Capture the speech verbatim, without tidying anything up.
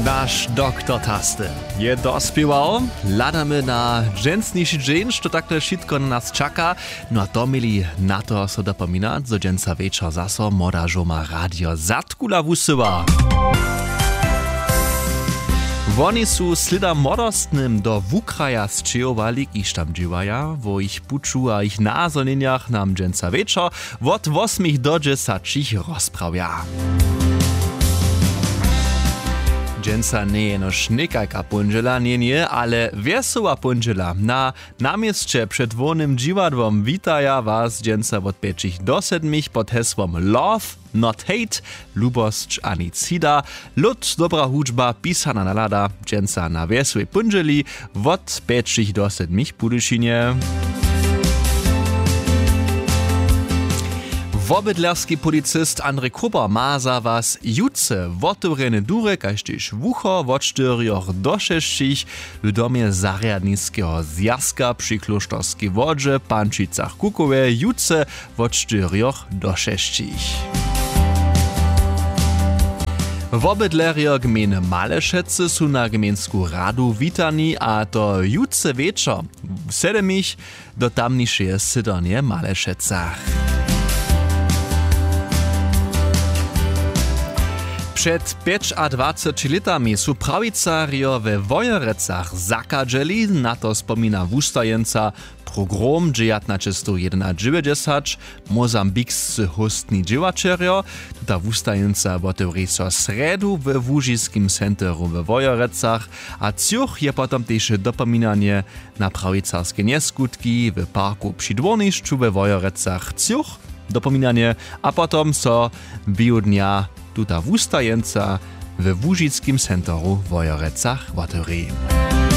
Naš doktor Taste je dospěwał. Hladamy na dźensniši dźeń, što takle wšitko na nas čaka. No a to měli na to so dopominać, zo dźensa wječor zaso młoda žurma Radio Zadkula wusyła. Woni su slěda młodostnym do wukraja sćěhowali, kiž tam dźěłaja. Wo jich puću a jich nazhonjenjach nam dźensa wječor wot wosmich do dźesaćich rozprawja. Dźensa njeje jenož někajka póndźela njenje, ale wjesoła póndźela. Na na měsće před hłownym dźiwadłom witaja was dźensa wot pjećich do sedmich pod hesłom Love, not hate, lubosć a nic hida. Lód, dobra hudźba, pisana nalada, dźensa na wjesołej póndźeli wot pjećich do sedmich w Budyšinje. Wobydlerski policist Andrej Kruber ma za was jutře wotewrjene durje kaž tež wucho wot štyrjoch do šesćich w domje zarjadniskeho zwjazka při klóšterskej wodźe w Pančicach Kukowje jutře wot štyrjoch do šesćich. Wobydlerjo gmejny Malešecy su na gmejnsku radu witani, a to jutře wječor w sedmich do tamnišeje sydornje w Malešecach. Před pjećadwaceći lětami su prawicarjo we Wojerecach zakadźeli, na to spomina wustajeńca Pogrom dźewjatnaćestowjedynadźewjećdźesać, mozambikscy hóstni dźěłaćerjo. Tuta wustajeńca wotewri so srjedu we łužiskim centeru we Wojerecach, a třoch je potom tež dopominanje na prawicarske njeskutki w parku při dwórnišću we Wojerecach třoch dopominanje, a potom so běhu dnja tuta wustajeńca we łužiskim centeru w Wojerecach wotewri.